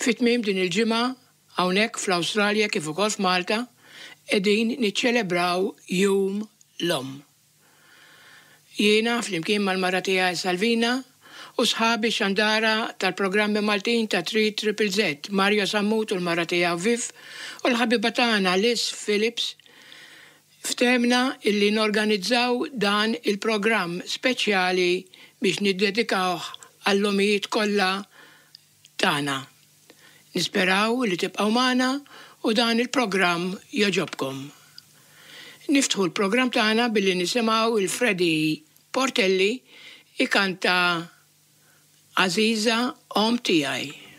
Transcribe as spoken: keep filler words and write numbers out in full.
Fi tmiem din il-ġimgħa hawnhekk fl-Awstralja kif ukoll f'Malta qegħdin niċċelebraw Jum l-Omm. Jiena flimkien mal-mara tiegħi Salvina u sħabi xandara tal-programmi Maltin ta' three Triple Z, Mario Sammut u l-mara tiegħu Viv u l-ħabiba tagħna Liz Phillips, ftehmna illi norganizzaw dan il-programm speċjali biex niddedikawh għall-omijiet kollha tagħna. Nisperaw li tibqgħu magħna u dan il-programm jogħġobkom. Niftħu l-programm tagħna billi nisimgħu il-Freddy Portelli ikanta Għażiża Omm Tiegħi.